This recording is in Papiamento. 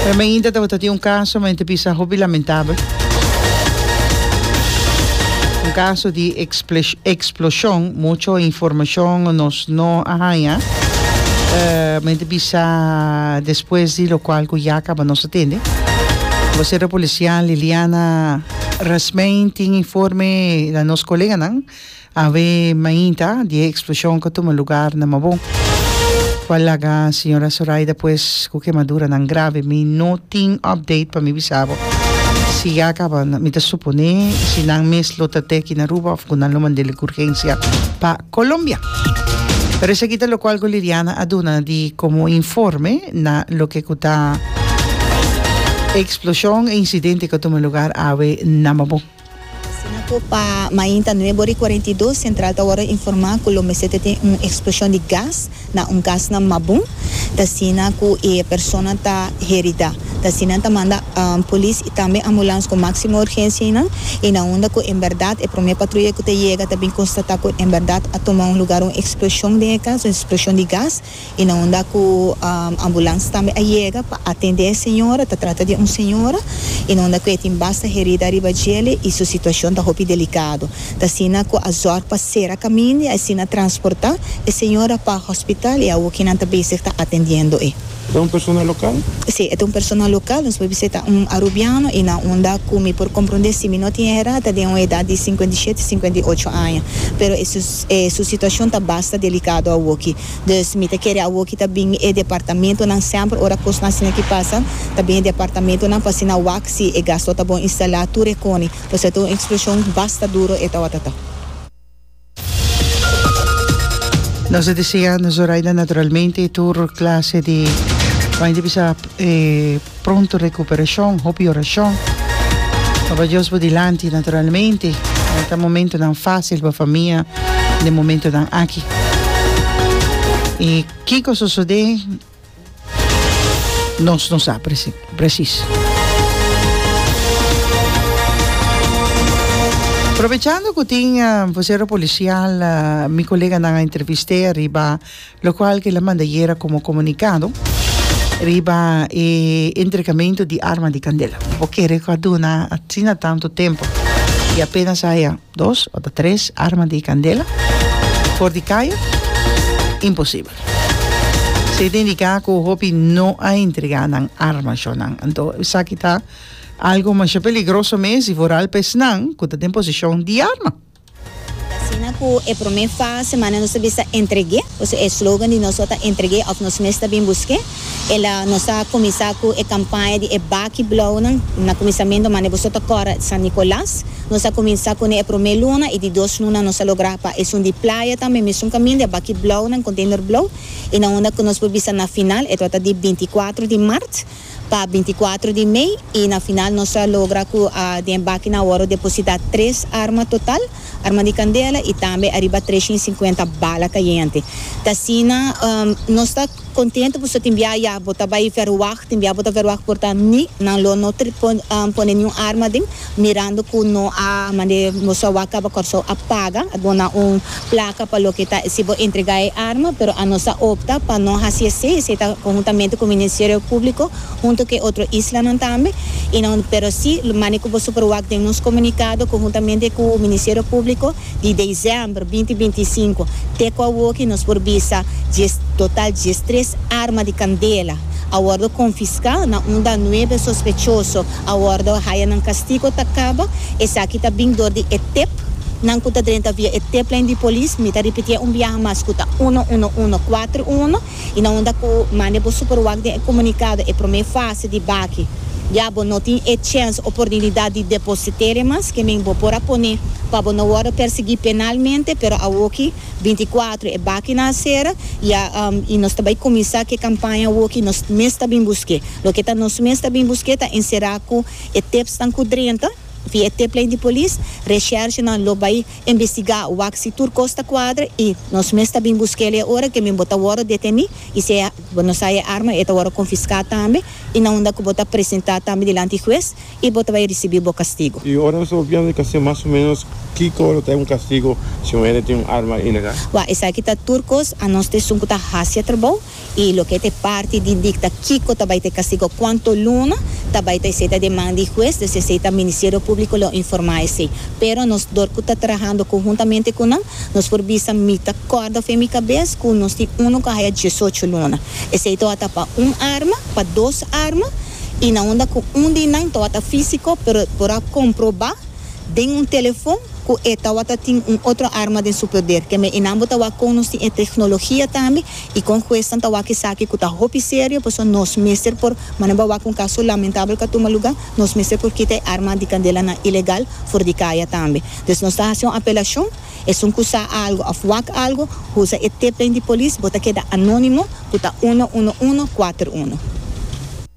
Pero mainta tabata tin un caso, ma ta bisa hopi lamentabel. Un caso di explosion, mucho informacion nos no a haya. Ma ta bisa despues di locual cu ya caba nos a tende. Vocero policial Liliana Rasmijn tin informe na nos coleganan. Awe mainta di e eksploshon ku a tuma lugar na Mabon, ku a laga señora Zoraida pues ku kemaduranan grave. Mi no tin update pa mi bisa bo si ya kaba. Mi ta supone si nan mes lo ta te aki na Aruba of ku nan lo mand'el ku urgensia pa Colombia. Pero esaki ta lokual ku Liliana a duna di komo informe na loke ku ta e eksploshon, e insidente ku a tuma lugar awe na Mabon. Asina ku pa mainta nuebe ora i 42 sentral ta wòrdu informá ku lo mester ta tin un eksploshon di gas na un kas na Mabon. Ta asina ku e persona ta heridá. Ta asina ta manda polis i tambe ambulans ku máksimo urgensia einan i na unda ku en bèrdat e promé patruya ku ta yega ta bin konstatá ku en bèrdat a tuma un lugar un eksploshon den e kas, un eksploshon di gas. I na unda ku ambulans tambe a yega pa atendé e señora, ta trata di un señora, i na unda ku e tin basta herida riba djele i su situashon ta hopi delikado. Ta asina ku a zòrg pa sera kaminda i asina transportá e señora pa hospital i awoki nan ta bezig ta atendiendo e. E ta un persona lokal? Sí, e ta un persona lokal, nos por bisa e ta un arubiano i na unda ku mi por komprondé si mi no tin erá ta den un edat di 57, 58 aña. Pero e su situashon ta basta delikado awoki. Dus mi ta kere awoki ta bin e departamentonan semper ora kosnan asina ki pasa ta bin e departamentonan pa asina wak si e gas lo ta bon instalá tur e koni pasobra ta un eksploshon basta duro e tawata ta. Nos ta desea na Zoraida naturalmente tur clase di Bai di bisa e pronto recuperacion, hopi oracion. Papa Dios bo dilanti naturalmente. No ta momentonan facil pa famia den momentonan aki. Y kico sosode nos no sa precies. Aprovechando cu tin vocero policial, mi coleganan a entrevist'e ariba Locual ke la manda yera como comunicado riba e entregamentu di arma di candela. Bo kere cu a duna asina tanto tempo y apenas haya dos o ta tres arma di candela for di caya? Imposibel. Si ta indica cu hopi no a entrega nan arma shonan. Anto esaki ta algo masha peligroso mes y vooral pa esnan cu ta den posicion di arma. Asina ku e promé fase manera nos ta bisa entreg'é, pasobra e slogan di nos ta entreg'é òf nos mes ta bin busk'é. El a nos a kuminsá ku e kampaña di e baki blounan na kuminsamentu manera boso ta kòrda San Nikolas. Nos a kuminsá kuné e promé luna i di dos luna nos a logra pa esun di playa tambe mesun kaminda e baki blounan, container blou, i na unda ku nos por bisa na final e tabata di binti kuatro di mart. pa 24 di mei y na final nos a logra cu den e bakinan a worde deposita tres arma total, arma di candela y tambe ariba 350 bala cayente. Ta asina nos ta contento pasobra tin bia ya bo ta bay verwacht, tin bia bo ta verwacht por ta ni nan lo no pone niun arma den mirando cu no a mande nos a wak caba Corsou a paga a duna un placa pa loke ta si bo entrega e arma, pero anos a opta pa no haci esey, esey ta conhuntamente cu Ministerio Publico hunto cu e otro islanan tambe, y nan, pero si mane cu bo super wak den nos comunicado conhuntamente cu Ministerio Publico di december binti 25 te cu awoki nos por bisa dies total 13 arma di candela a wordo confisca na unda nuebe sospechoso a wordo haya nan castigo ta caba, esaki ta bin door di e tip. Nan ku ta drenta via e tiplijn di polis, mi ta ripitié un biaha mas ku ta uno uno uno kuater uno i na unda ku mande bo super wak den e komunikado e promé fase di baki ya bo no tin e chèns oportunidat di deposit'é mas ke men bo por a pone pa bo no wòrdu persiguí penalmente pero awoki 24 e bakinan a sera ya i nos ta bai kuminsá ku e kampaña awoki nos mes ta bin busk'é loke ta nos mes ta bin busk'é ta enserá ku e tipsnan ku drenta. Via e tiplijn di polis, reshershenan lo bai investigá wak si tur kos ta kuadra i nos mes ta bin busk'el e ora ke min bo ta wòrdu detení i si e bo no sa e arma e ta wòrdu konfiská tambe i na unda ku bo ta presentá tambe dilanti hues i bo ta bai risibí bo kastigu. I ora nos ta papiando di kastigu mas o ménos kiko lo ta un kastigu si un hende tin un arma ilegal? Wak esaki ta tur kos, anos ta esun ku ta hasi e trabou. Y loke ta e parti di dicta kico ta bay ta e castigo, cuanto luna ta bay ta esey ta den man di hues, dus esey ta Ministerio Publico lo informa esey. Pero nos dor cu ta trahando conhuntamente cu nan, nos por bisa mi ta corda fen mi cabes cu nos tin uno cu a haya diesocho luna. Esey tawata pa un arma, pa dos arma y na unda cu un di nan tawata fisico pero por a comproba den un telefon cu e tawata tin un otro arma den su poder. Keme y nan bo ta wak con nos tin e tecnologia tambe y con huesnan ta wak esaki cu ta hopi serio pasobra nos mester por, manera bo a wak un caso lamentabel cu a tuma luga, nos mester por kita e arma di candelanan ilegal for di caya tambe. Dus nos ta haci un apelacion, esun cu sa algo of wak algo, usa e tiplijn di polis, bo ta keda anonimo cu ta uno uno uno cuater uno.